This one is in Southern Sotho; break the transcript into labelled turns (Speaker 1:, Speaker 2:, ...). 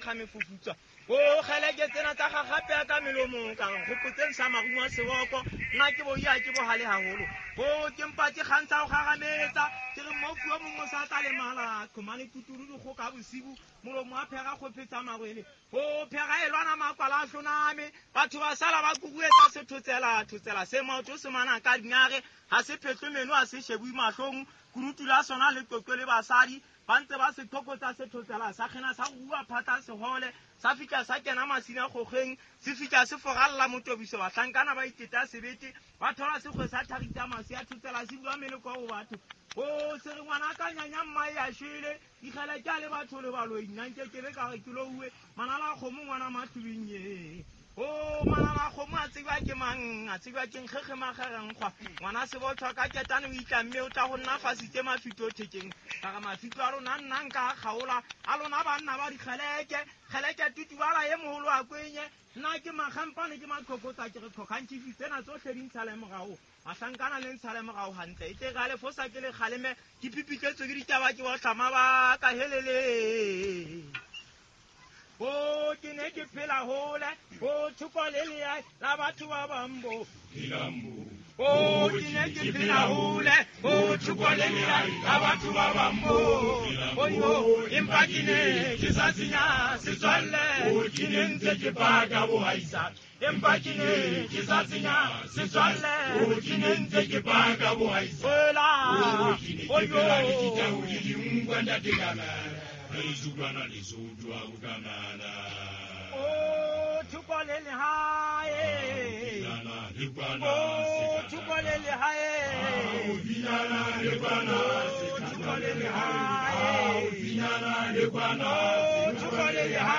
Speaker 1: nkga mefufutswa. O kgeleke tsena tsa gagape ya ka melomong ka re gopotseng sa marumo a seboko nna ke boia ke bogale gagolo. O ke mpa ke kgantsha go gagametsa ke re mmofu o mongwe o sa tla lemala tlhomane tuturu dikgoka bosibu molomo wa phega go phetsa marwele. O phega e lwana makwala a hloname batho ba sala ba kuruetsa sethotsela thotsela se maoto se mana ka dinare ga se phetlwe meno a se shebue mahlong kurutu la sona le qoqwe le basadi ba ntse ba se thokotsa sethotsela sa kgena sa rua phatla sehole sa fihla sa kena masina kgogeng se fihla se foralla motobiso bahlankana ba iteta sebete ba thola sekgwe sa tharita masi a thotsela se bua meleko go batho. O se re ngwana ka nyanya mmae a shwele dikgele ke a le batho le baloi nna nke ke be ka re ke louwe manala a kgomo ngwana matlubing ye. O manala a kgomo a tsebja ke mang a tsebja ke nkgekge magerenkgwa ngwana sebotshwa ka ketane o itla mme o tla go nna fasitse mafito thekeng ka re mafito a lona nna nka a kgaola a lona banna ba dikgeleke kgeleke tutubala ye mogolo a kwenye nna ke makgampane ke maqhokotsa ke re tlhokgantšhifi tsena tsotlhe di ntshale morago mahlankana le ntshale morago gantle e tle ga le fosa ke le kgaleme ke pipitletswe ke ditaba ke botlhama ba ka helele. O ke ne ke phela hole o thoko le leae la batho ba bambo. O ke ne ke phela hole o thoko le leae la batho ba bambo. Oyo empa ke ne ke sa senya setswalle ke ne ntse ke paka bohaisa empa ke ne ke sa senya setswalle
Speaker 2: ke ne ntse ke paka bohaisa.
Speaker 1: Ola
Speaker 2: Ke ne ke phela le ditau le dinkwa ntate Kamala. Lezulwana lesotho a o Kamala.
Speaker 1: O thoko le lehae.
Speaker 2: Binana le kwana
Speaker 1: O thoko le lehae.
Speaker 2: Binana le kwana
Speaker 1: O thoko le lehae.
Speaker 2: Binana le kwana
Speaker 1: O thoko le lehae.